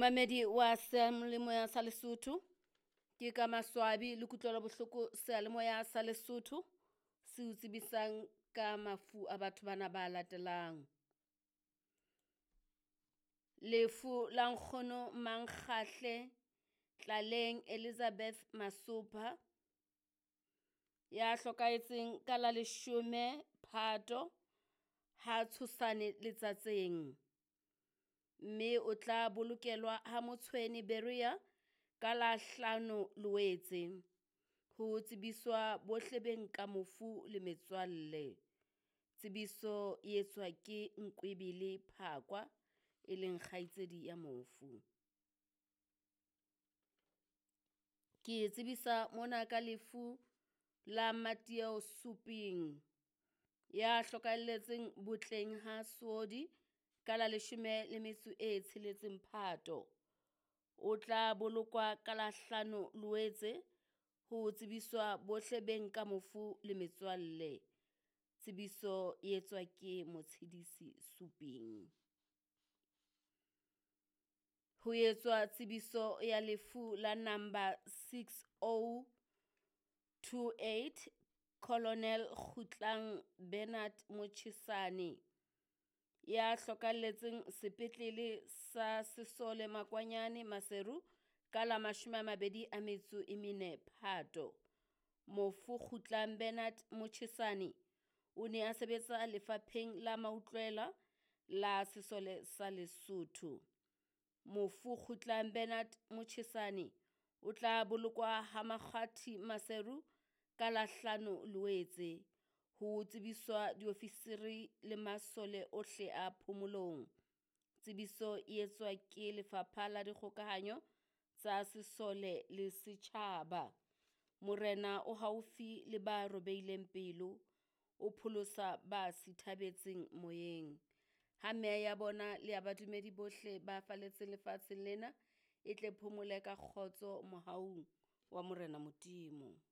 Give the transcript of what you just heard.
Mamedi wa seyalemoya sa Lesotho, ke ka maswabi le kutlwelo bohloko seyalemoya sa Lesotho se o tsebisang ka mafu a batho bana ba latelang. Lefu la nkgono Mankgahle Tlaleng Elizabeth Masopha ya hlokahetseng ka la leshome Phato ha Tshosane Letsatseng. Mme o tla bolokelwa ha Motshweni Berea ka la hlano Loetse. Ho tsebiswa bohle beng ka mofu le metswalle. Tsebiso e etswa ke Nkwebele Phakwa e leng kgaitsedi ya mofu. Ke tsebisa mona ka lefu la Matieo Suping ya hlokahelletseng botleng ha Soodi ka la leshome le metso e tsheletseng Phato. O tla bolokwa ka la hlano Loetse ho tsebiswa bohle beng ka mofu le metswalle. Tsebiso e etswa ke Motshidisi Suping. Ho etswa tsebiso ya lefu la number 6028 Colonel Kgutlang Bernard Motjhesane ya hlokahalletseng sepetlele sa Sesole Makwanyane Maseru ka la mashome a mabedi a metso e mene Phato. Mofu Kgutlang Bernard Motjhesane o ne a sebetsa lefapheng la mautlwela la Sesole sa Lesotho. Mofu Kgutlang Bernard Motjhesane o tla bolokwa ha Makgwathi Maseru ka la hlano Loetse. Ho tsebiswa diofisiri le masole ohle a phomolong. Tsebiso e etswa ke Lefapha la Dikgokahanyo tsa Sesole le Setjhaba. Morena o haufi le ba robehileng pelo, o pholosa ba sithabetseng moyeng. Ha meya ya bona le ya badumedi bohle ba faletseng lefatsheng lena e tle phomole ka kgotso mohaung wa Morena Modimo.